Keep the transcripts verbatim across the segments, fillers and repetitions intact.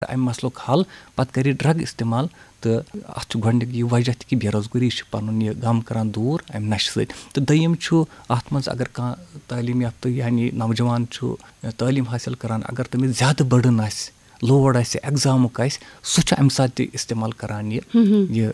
اَمہِ مسلُک حل، پَتہٕ کَرِ ڈرگ استعمال۔ تہٕ اَتھ چھُ گۄڈٕنیُک یہِ وجہ تہِ کہِ بے روزگٲری چھِ پَنُن یہِ غم کران دوٗر اَمہِ نشہٕ سۭتۍ۔ تہٕ دوٚیِم چھُ، اَتھ منٛز اگر کانٛہہ تعلیٖم یافتہٕ یعنی نوجوان چھُ تعلیٖم حٲصِل کران، اگر تٔمِس زیادٕ بٔڑٕن آسہِ، لوڈ آسہِ، ایگزامُک آسہِ، سُہ چھُ اَمہِ ساتہٕ تہِ استعمال کران یہِ یہِ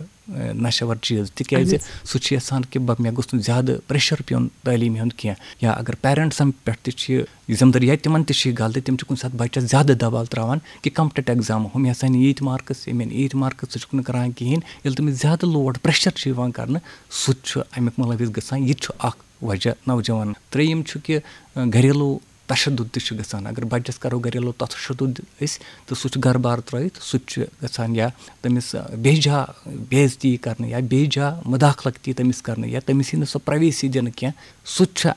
نشہٕ ور چیٖز، تِکیازِ سُہ چھُ یژھان کہِ بہٕ، مےٚ گوٚژھ نہٕ زیادٕ پریشر پیوٚن تعلیٖم ہُنٛد کینٛہہ۔ یا اگر پیرنٹسن پٮ۪ٹھ تہِ چھِ یہِ ذمہٕ دٲری، یا تِمن تہِ چھِ یہِ غلطی، تِم چھِ کُنہِ ساتہٕ بچس زیادٕ دباو تراوان کہِ کمپٹیٹو ایگزام، ہُم ہسا نہٕ ییٖتۍ مارکس، یِم یِن ییٖتۍ مارکس، ژٕ چھُکھ نہٕ کران کِہینۍ۔ ییٚلہِ تٔمِس زیادٕ لوڈ، پریشر چھُ یِوان کرنہٕ، سُہ تہِ چھُ امیُک مُلوث گژھان۔ یہِ تہِ چھُ اکھ وجہ نوجوان۔ ترٛیٚیِم چھُ کہِ، اَ، گھریلو تشدد تہِ چھُ گژھان۔ اگر بچس کرو گھریلو تشدد أسۍ، تہٕ سُہ چھُ گھرٕ بار ترٲوِتھ، سُہ تہِ چھُ گژھان یا تٔمِس، اَ، بے جا بے عزتی کرنہٕ یا بے جا مداخلت تہِ تٔمِس کرنہٕ یا تٔمِس یی نہٕ سۄ پرایویسی دِنہٕ کینٛہہ، سُہ تہِ چھُ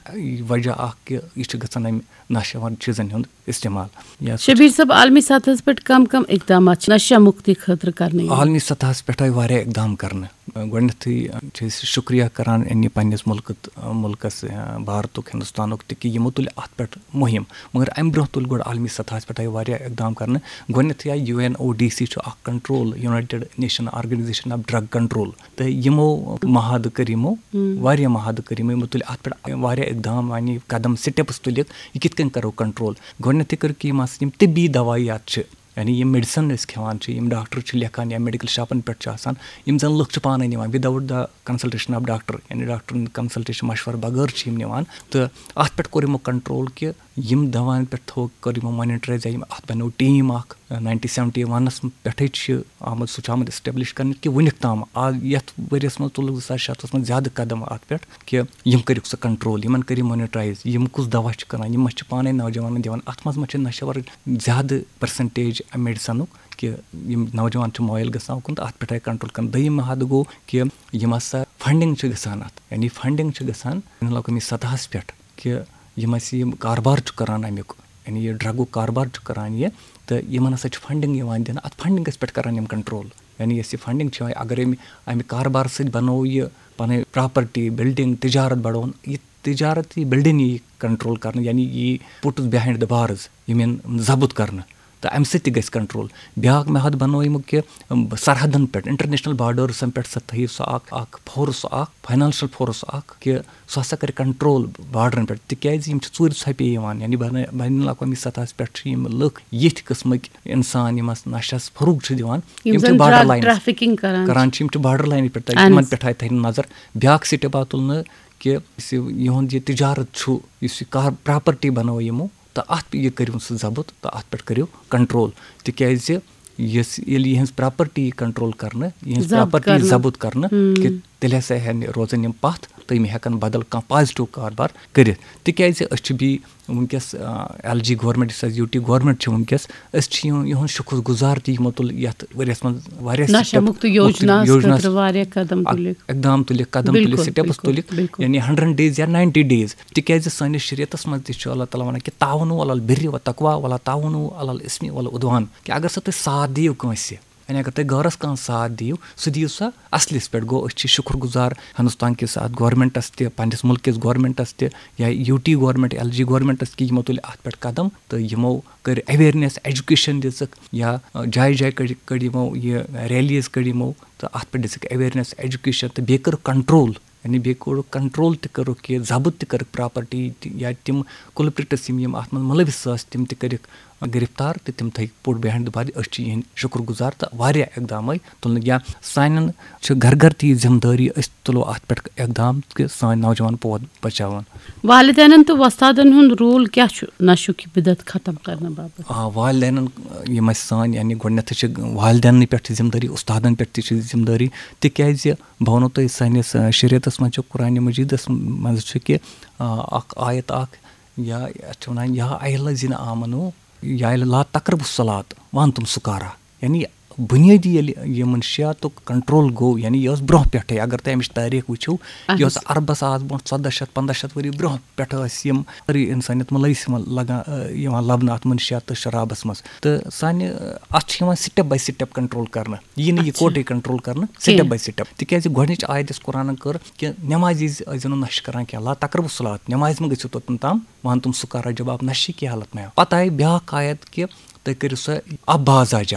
وجہ اکھ کہِ یہِ چھُ گژھان امہِ نشہٕ ور چیٖزن ہُنٛد استعمال۔ یا سُہ شبیر صٲب، عالمی سطحس پٮ۪ٹھ کم کم اقدامات چھِ نشہ مُکتی خٲطرٕ کرنہٕ یِوان؟ عالمی سطحس پٮ۪ٹھ آیہِ واریاہ اقدام کرنہٕ۔ گۄڈٕنیتھٕے چھِ أسۍ شُکریہ کران یعنی پننِس مُلکہٕ، مُلکس، بھارتُک، ہندوستانُک تہِ کہِ یِمو تُلۍ اتھ پٮ۪ٹھ مُہِم۔ مگر امہِ برونٛہہ تُلۍ گۄڈٕ عالمی سطحس پٮ۪ٹھ آیہِ واریاہ اقدام کرنہٕ۔ گۄڈٕنیتھٕے آیہِ U N O D C چھُ اکھ control, United Nation Organization of Drug Control، تہٕ یِمو معاہدٕ کٔرۍ یِمو، واریاہ معاہدٕ کٔرۍ یِمو، یِمو تُلۍ اتھ پٮ۪ٹھ واریاہ اقدام، یعنی قدم، سٹیپس تُلِکھ، یہِ کِتھ کٔنۍ کرو کنٹرول۔ گۄڈٕنیتھٕے کٔرٕکھ یِم ہسا یِم طبی دوایات چھِ، یعنی یِم میڈیسن أسۍ کھٮ۪وان چھِ، یِم ڈاکٹر چھِ لیکھان یا میڈیکل شاپن پٮ۪ٹھ چھِ آسان، یِم زن لُکھ چھِ پانے نِوان without the consultation of doctor، یعنی ڈاکٹرن کنسلٹیشن، مشورٕ بغٲر چھِ یِم نِوان۔ تہٕ اتھ پٮ۪ٹھ کوٚر یِمو کنٹرول کہِ یِم دوایَن پٮ۪ٹھ تھوٚو، کٔر یِمو مانیٹرایز، یا یِم، اَتھ بنیو ٹیٖم اَکھ، nineteen seventy one منٛز پٮ۪ٹھٕے چھِ آمُت، سُہ چھُ آمُت establish کرنہٕ کہِ وٕنیُک تام آز یَتھ ؤریَس منٛز تُلُکھ زٕ ساس شےٚ ہَتھَس منٛز زیادٕ قدم اَتھ پٮ۪ٹھ کہِ یِم کٔرِکھ سُہ کنٹرول، یِمَن کٔرِو مانیٹرایز، یِم کُس دوا چھِ کٕنان، یِم ما چھِ پانَے نوجوانَن دِوان، اَتھ منٛز ما چھِ نشہٕ وَرٕچ زیادٕ پٔرسَنٹیج میڈیسنُک کہِ یِم نوجوان چھِ مٲیِل گژھان اُکُن تہٕ اَتھ پٮ۪ٹھ آیہِ کنٹرول کرنہٕ۔ دوٚیِم محادٕ گوٚو کہِ یِم ہسا فنڈنگ چھِ گژھان اَتھ، یعنی فنڈنگ چھِ گژھان بین الاقوٲمی سطحَس پٮ۪ٹھ کہِ یِم اَسہِ یِم کاربار چھُ کران اَمیُک، یعنی یہِ ڈرگُک کاربار چھُ کران یہِ، تہٕ یِمن ہسا چھِ فنڈنگ یِوان دِنہٕ، اَتھ فنڈنگس پٮ۪ٹھ کران یِم کنٹرول۔ یعنی یۄس یہِ فنڈنگ چھِ یِوان، اگر أمۍ، اَمہِ کاربار سۭتۍ بنوو یہِ پنٕنۍ پراپرٹی، بلڈنگ، تجارت بڑوون، یہِ تجارت، یہِ بلڈنگ یی کنٹرول کرنہٕ، یعنی یی پُٹس بہائنڈ دی بارز، یِم یِن ضبط کرنہٕ۔ تہٕ اَمہِ سۭتۍ تہِ گژھِ کنٹرول۔ بیٛاکھ محادٕ بنوو یِمو کہِ، اَم، سرحدن پٮ۪ٹھ، انٹرنیشنل بارڈٲرسن پٮ۪ٹھ سا تھٲیِو سُہ اکھ، اکھ فورس اکھ، فاینانشل فورس اکھ، کہِ سُہ ہسا کرِ کنٹرول بارڈرن پٮ۪ٹھ، تِکیازِ یِم چھِ ژوٗرِ ژھۄپے یِوان، یعنی بین، بین الاقوامی سطحس پٮ۪ٹھ چھِ یِم لُکھ، یِتھۍ قٕسمٕکۍ انسان یِم اتھ نشس فروغ چھِ دِوان، یِم یِم چھِ زن بارڈر ڈرگ لائنس ٹریفکنگ کران چھِ۔ کران چھِ، یِم چھِ بارڈر لائنہِ پٮ۪ٹھ، اہن یِمن حظ۔ پٮ۪ٹھ آیہِ تھاونہٕ نظر۔ بیٛاکھ سٹیپ آو تُلنہٕ کہِ یُس یہِ یِہُنٛد یہِ تجارت چھُ، یُس یہِ کار، پراپرٹی بنٲو یِمو، تہٕ اَتھ یہِ کٔرِو سُہ ضبط تہٕ اَتھ پٮ۪ٹھ کٔرِو کنٹرول، تِکیازِ یۄس، ییٚلہِ یِہٕنٛز پراپرٹی یی کنٹرول کرنہٕ، یِہٕنٛز ضبط پراپرٹی یی کرنہٕ۔ ضبط کرنہٕ، ہُم۔ کہِ تیٚلہِ ہسا ہٮ۪ن، روزن یِم پتھ تہٕ یِم ہٮ۪کن بدل کانٛہہ پازیٹیو کاربار کٔرِتھ، تِکیازِ أسۍ چھِ بیٚیہِ وٕنکیٚس، آ، ایل جی گورنمنٹ، یُس اَسہِ یوٗ ٹی گورنمنٹ چھِ وٕنکیٚس، أسۍ چھِ یِہُنٛد، یِہُنٛد شُکر گُزار تہِ، یِمو تُل یَتھ ؤریَس منٛز واریاہ نشہ سٹیپ، مُکت مُکت یوجناہَس یوجناہَس خٲطرٕ واریاہ قدم اَک-، تُلِکھ۔ اقدام تُلِکھ، قدم تُلِکھ، بِلکُل، سٹیپٕس بِلکُل، تُلِکھ، بِلکُل۔ یعنی ہنڈرنڈ ڈیز یا ناینٹی ڈیز۔ تِکیازِ سٲنِس شریعتس منٛز تہِ چھُ اللہ تعالیٰ وَنان کہِ تعاونوا علی البر و تقویٰ ولا تعاونوا علی الاثم والعدوان، کہِ اگر سا تُہۍ ساتھ دِیِو کٲنٛسہِ، یعنی اگر تُہۍ غٲرس کانٛہہ ساتھ دِیِو، سُہ دِیِو سا اصلِس پٮ۪ٹھ۔ گوٚو، أسۍ چھِ شُکر گُزار ہندوستان کِس اَتھ گورنمنٹس تہِ، پننِس مُلکہٕ کِس گورنمنٹس تہِ، یا U T government, L G governments, کہِ یِمو تُلۍ اَتھ پٮ۪ٹھ قدم تہٕ یِمو کٔرۍ awareness، education دِژٕکھ، یا، آ، جایہِ جایہِ کٔڑۍ، کٔڑۍ یِمو یہِ rallies کٔڑۍ یِمو، تہٕ اَتھ پٮ۪ٹھ دِژٕکھ awareness، education، تہٕ بیٚیہِ کٔرٕکھ control، یعنی بیٚیہِ کوٚرُکھ control تہِ کٔرٕکھ، یہِ ضبط تہِ کٔرٕکھ پراپرٹی تہِ، یا تِم culprits یِم، یِم اَتھ منٛز مُلوث ٲسۍ، تِم تہِ کٔرِکھ گرفتار تہٕ تِم تھٲوِکھ پُٹ بہائنڈ دی بارز۔ أسۍ چھِ یِہِنٛدۍ شُکر گُزار تہٕ واریاہ اقدام آیہِ تُلنہٕ۔ یا سانٮ۪ن چھِ گرٕ گرٕ تہِ یہِ ذمہٕ دٲری، أسۍ تُلو اَتھ پٮ۪ٹھ اقدام کہِ سٲنۍ نوجوان پوت بچاوون۔ والدینن تہٕ وۄستادن ہُنٛد رول کیٛاہ چھُ نشُک یہِ بدعت ختم کرنہٕ باپتھ؟ آ، والدینن، یِم اَسہِ سٲنۍ، یعنی گۄڈٕنیتھٕے چھِ والدیننٕے پٮ۪ٹھ ذمہٕ دٲری، اُستادن پٮ۪ٹھ تہِ چھِ ذمہٕ دٲری، تِکیازِ بہٕ وَنو تۄہہِ، سٲنِس، آ، شریعتس منٛز چھُ، قرآن مجیدس منٛز چھُ کہِ، آ، اکھ آیت اکھ، یا یَتھ چھِ وَنان، یا ایھا الذین آمنو، یا لا تقربوا الصلاۃ وانتم سکارا۔ یعنی بُنیٲدی ییٚلہِ یِمن شیعتُک کنٹرول گوٚو، یعنی یہِ ٲس برونٛہہ پٮ۪ٹھَے، اگر تُہۍ اَمِچ تٲریٖخ وٕچھِو، اہن یہِ ٲس حظ۔ عربس آز برونٛہہ ژۄداہ شیٚتھ، پنٛداہ شیٚتھ ؤری برونٛہہ پٮ۪ٹھٕ ٲسۍ یِم سٲری اِنسٲنیت مُلوث یِوان لگان، یِوان لبنہٕ اَتھ منشیات تہٕ شرابس منٛز۔ تہٕ سانہِ، اَتھ چھِ یِوان step by step control کرنہٕ، یی نہٕ یہِ اچھا۔ کوٹے control کرنہٕ، step کینٛہہ۔ By step۔ تِکیازِ گۄڈٕنِچ آیت یۄس قرآنن کٔر کہِ نٮ۪مازِ وِزِ ٲسۍزیو نہٕ نشہٕ کران کینٛہہ، لا تقربوا الصلاۃ، نٮ۪مازِ منٛز گٔژھِو توٚتَن تام وانتم سکارا، جب آپ نشے کی حالت میں ہو۔ پتہٕ آیہِ بیٛاکھ آیت کہِ تُہۍ کٔرِو سۄ ابازا جاو۔